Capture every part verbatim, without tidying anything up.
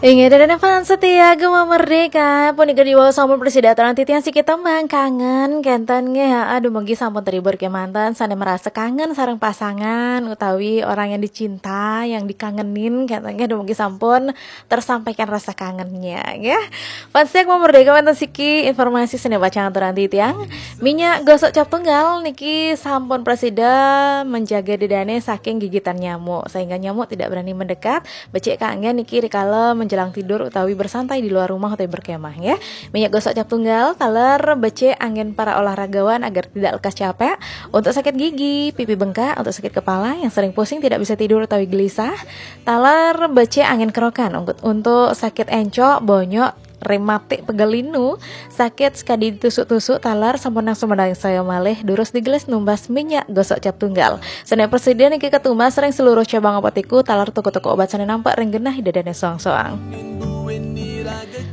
Inggih, dadan fans setia Gema Merdeka, punika diwaos sampun prasida aturang titiang siki tembang Kangen, kénten nggih. Aduh, mugi sampun terhibur kémanten, sané merasa kangen sareng pasangan utawi orang yang dicinta, yang dikangenin, kénten nggih. Aduh, mugi sampun tersampaikan rasa kangennya, nggih. Fans setia Gema Merdeka, wénten siki informasi sané bacang aturang titiang. Minyak gosok cap tunggal niki sampun prasida menjaga dedané saking gigitan nyamuk, sehingga nyamuk tidak berani mendekat. Becik kanggén niki rikala menjelang tidur utawi bersantai di luar rumah utawi berkemah, ya. Minyak gosok cap tunggal taler becik anggén para olahragawan agar tidak lekas capek. Untuk sakit gigi, pipi bengkak, untuk sakit kepala, yang sering pusing tidak bisa tidur utawi gelisah, taler becik anggén kerokan. Untuk, untuk sakit encok, bonyok, rematik, pegel linu, sakit sekadi ditusuk-tusuk, taler sampunang sumandangsaya malih, durus digelis numbas minyak gosok cap tunggal. Sané prasida niki katumbas ring seluruh cabang apotiku, taler toko-toko obat sané nampek ring genah ida dané soang-soang.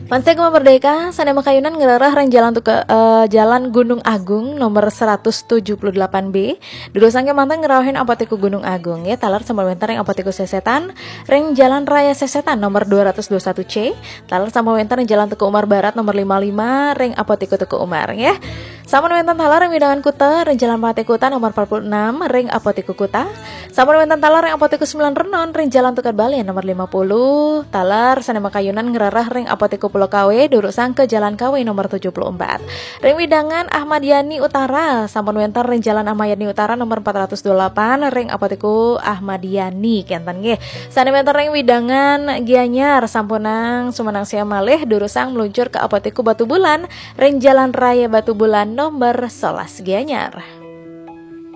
Fans setia Gema Merdeka, sané makayunan ngrereh ring Jalan Tuka, eh, Jalan Gunung Agung nomor seratus tujuh puluh delapan B. Durusang kémanten ngrauhin Apotiku Gunung Agung, ya, taler sampun wénten ring Apotiku Sesetan, ring Jalan Raya Sesetan nomor dua ratus dua satu C, taler sampun wénten ring Jalan Teuku Umar Barat nomor lima lima, ring Apotiku Teuku Umar, ya. Sampun wénten taler ring wewidangan Kuta, ring Jalan Patih Kuta nomor empat puluh enam, ring Apotiku Kuta. Sampun wénten taler ring Apotiku Sembilan Renon, ring Jalan Tukad Balian nomor lima puluh, taler sané makayunan ngrereh ring Apotiku Pulau Kawe, durusang ke Jalan Kawe nomor tujuh puluh empat. Ring wewidangan Ahmad Yani Utara, sampun wénten ring Jalan Ahmad Yani Utara nomor empat ratus dua delapan, ring Apotiku Ahmad Yani, kénten nggih. Sané wénten ring wewidangan Gianyar, sampunang sumandangsaya malih, durusang meluncur ke Apotiku Batubulan, ring Jalan Raya Batubulan nomor sebelas Gianyar.